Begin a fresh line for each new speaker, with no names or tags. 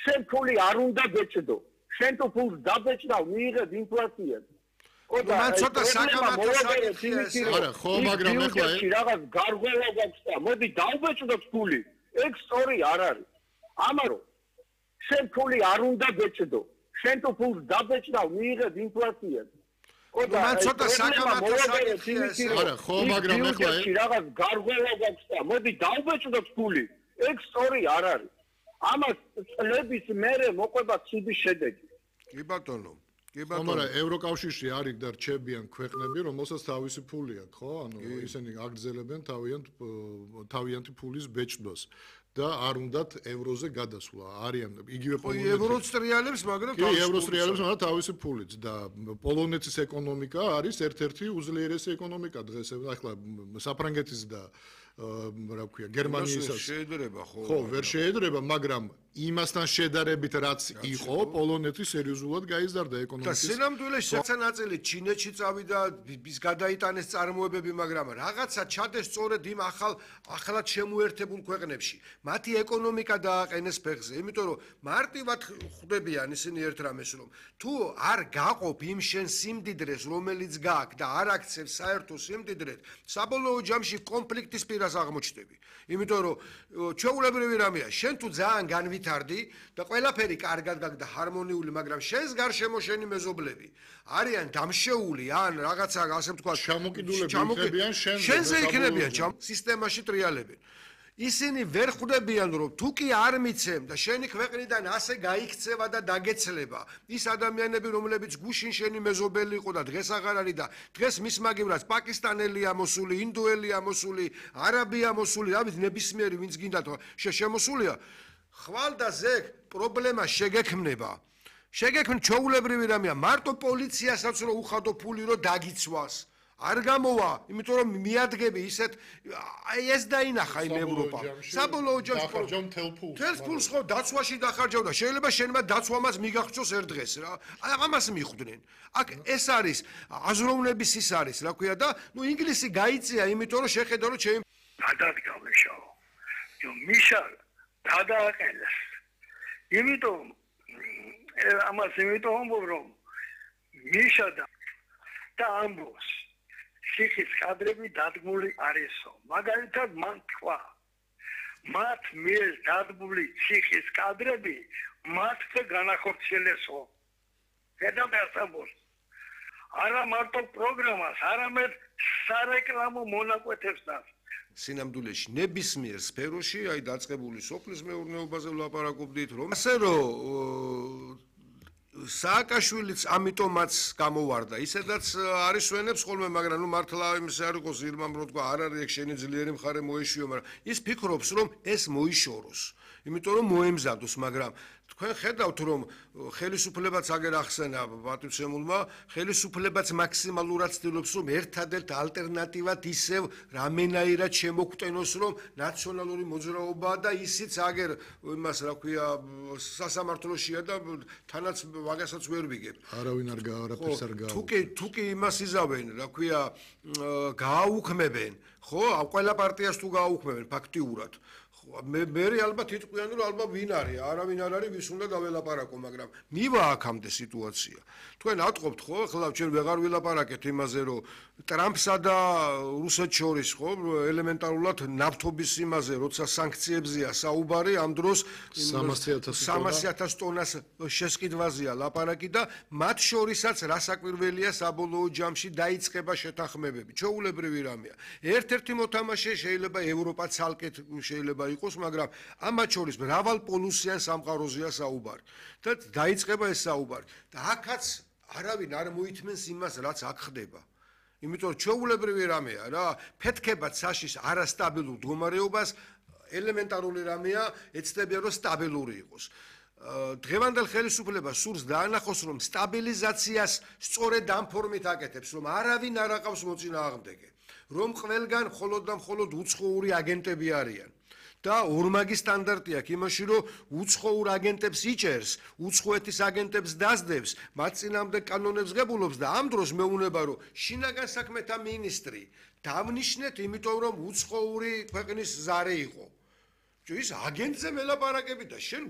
შენ ფული არ უნდა გეჭდო. შენ თუ ფულს დაბეჭდა, მიიღებ ინფლაციას.
მან ცოტა საკამათო საკითხია ეს.
არა, ხო, მაგრამ ეხლა
რაღაც გარღვევა გაქვს და მოდი დავბეჭდოთ ფული. ეგ სწორი არ არის. ამარო შენ ფული არ უნდა გეჭდო. შენ თუ ფულს დაბეჭდა, მიიღებ ინფლაციას.
მან ცოტა საკამათო საკითხია ეს.
არა, ხო, მაგრამ ეხლა
რაღაც გარღვევა გაქვს და მოდი დავბეჭდოთ ფული. ეგ სწორი არ არის. ამას წლების მერე მოყვება ცუდი შედეგი.
კი ბატონო.
მაგრამ ევროკავშირში არის და რჩებიან ქვეყნები, რომელსაც თავისი ფული აქვს, ხო? ანუ ისინი აგრძელებენ თავიანთი ფულის ბეჭდვას და არ უნდათ ევროზე გადასვლა. არიან იგივე პოლონეთი.
ევროც ტრიალებს, მაგრამ
კი, ევროს ტრიალებს, მაგრამ თავისი ფულით და პოლონეთის ეკონომიკა არის ერთ-ერთი უძლიერესი ეკონომიკა დღეს. ახლა საფრანგეთის და რა ქვია, გერმანიისას
შეედრება ხო?
ხო, ვერ შეედრება, მაგრამ იმასთან შედარებით რაც იყო, პოლონეთი სერიოზულად გაიზარდა ეკონომიკის.
და სინამდვილეში საცა ნაწილი ჩინეთში წავიდა, ის გადაიტანეს წარმოებები, მაგრამ რაღაცა ჩადეს სწორედ იმ ახალად შემოერთებულ ქვეყნებში. მათი ეკონომიკა დააყენეს ფეხზე, იმიტომ რომ მარტივად ხვდებიან ისინი ერთ რამეს, რომ თუ არ გაყოფ იმ შენ სიმდიდრეს, რომელიც გააქვს და არ აქცევ საერთო სიმდიდრეთ, საბოლოო ჯამში კონფლიქტის პირას აღმოჩნდები. იმიტომ რომ ჩვეულებრივი რამეა, შენ თუ ძალიან განვითარდი და ყველაფერი კარგად გაქვს და ჰარმონიული, მაგრამ შენს გარშემო შენი მეზობლები არიან დამშეული ან რაღაცა ასე ვთქვათ,
ჩამოკიდულები
შენზე იქნებიან, სისტემაში ტრიალებენ. ისინი ვერ ხვდებიან, რომ თუ კი არ მიცემ და შენი ქვეყნიდან ასე გაიქცევა და დაგეცლება, ის ადამიანები, რომლებიც გუშინ შენი მეზობელი იყო და დღეს აღარ არის და დღეს მის მაგივრად პაკისტანელი ამოსული, ინდოელი ამოსული, არაბი ამოსული, რა ვიცი, ნებისმიერი ვინც გინდა შემოსულია, ხვალ და ზეგ პრობლემა შეგექმნება. შეგექმნ ჩვეულებრივი რამეა, მარტო პოლიციასაც რო უხადო ფული რო დაგიცვას. არ გამოვა, იმიტომ რომ მიადგები ისეთ ეს დაინახა იმ ევროპამ. საბოლოო ჯამში მთელს ფულს ხო დაცვაში დახარჯავდა. შეიძლება შენმა დაცვამაც მიგახსოვს ერთ დღეს რა. ამას მიხვდნენ. აქ ეს არის აზროვნების ის არის, რა ქვია და ნუ ინგლისი გაიწია, იმიტომ რომ შეხედა რომ ჩემი
გადადგამეშაო. მიშა გადააყენეს. იმიტომ ამას იმიტომ რომ მიშა და ამბობს ციხის კადრები დადგმული არისო. მაგალითად მან თქვა, მათ მიერ დადგმული ციხის კადრები მათზე განახორციელესო. გადამასწავლოს. არა მარტო პროგრამას, არამედ სარეკლამო მონაკვეთებს და
სინამდვილეში ნებისმიერ სფეროში, აი დაწყებული სოფლის მეურნეობაზე ვლაპარაკობდით, რომ ასე რომ სააკაშვილიც ამიტომაც გამოვარდა. ისედაც არის ვენებს ხოლმე, მაგრამ ნუ მართლა იმის არ იყოს ირმამ რო თქვა, არ არის ეგ შენი ძლიერი მხარე მოეშიო, მაგრამ ის ფიქრობს, რომ ეს მოიშოროს. იმიტომ რომ მოემზადოს, მაგრამ თქვენ ხედავთ, რომ ხელისუფლებაც აგერ ახსენა პატივცემულმა, ხელისუფლებაც მაქსიმალურად ცდილობს, რომ ერთადერთ ალტერნატივად ისევ რამენაირად შემოგვტენოს, რომ ნაციონალური მოძრაობაა და ისიც აგერ იმას რა ქვია სასამართლოშია და თანაც ვაგასაც ვერ ვიგებ.
არავინ არაფერს არ გააუქმებს.
თუ კი იმას იზავენ, რა ქვია, გააუქმებენ, ხო? ყველა პარტიას თუ გააუქმებენ ფაქტიურად. მე ალბათ იტყვიან, რომ ალბათ ვინ არის, არავინ არ არის, ვის უნდა დაველაპარაკო, მაგრამ მივა აქამდე სიტუაცია. თქვენ ატყობთ, ხო? ახლა ჩვენ ვეღარ ვილაპარაკეთ იმაზე, რომ ტრამპსა და რუსეთს შორის, ხო, ელემენტარულად ნავთობის იმაზე, როცა სანქციებზეა საუბარი, ამ დროს 300,000 ტონას შესყიდვაზეა ლაპარაკი და მათ შორისაც რასაკვირველია საბოლოო ჯამში დაიწყება შეთანხმებები. ჩვეულებრივი რამეა. ერთ-ერთი მოთამაშე შეიძლება ევროპა ცალკეთ შეიძლება იყოს, მაგრამ ამათ შორის მრავალპოლუსიან სამყაროზეა საუბარი. და დაიწყება ეს საუბარი. და აქაც არავინ არ მოითმენს იმას, რაც აქ ხდება. იმიტომ რომ ჩვეულებრივი რამეა რა, ფეთქება ცაშის არასტაბილურ მდგომარეობას, ელემენტარული რამეა, ეცდებიან რომ სტაბილური იყოს. დღევანდელ ხელისუფლებას სურს დაანახოს, რომ სტაბილიზაციას სწორედ ამ ფორმით აკეთებს, რომ არავინ არ აყავს მოწინააღმდეგე, რომ ყველგან მხოლოდ და მხოლოდ უცხოური აგენტები არიან. და ორმაგი სტანდარტი აქვს იმაში, რომ უცხოურ აგენტებს იჭერს, უცხოეთის აგენტებს დასდევს, მათ წინააღმდეგ კანონებს ღებულობს და ამ დროს მეუნება, რომ შინაგან საქმეთა მინისტრი დავნიშნეთ, იმიტომ რომ უცხოური ქვეყნის ზარე იყო. ის აგენტზე მელაპარაკები და შენ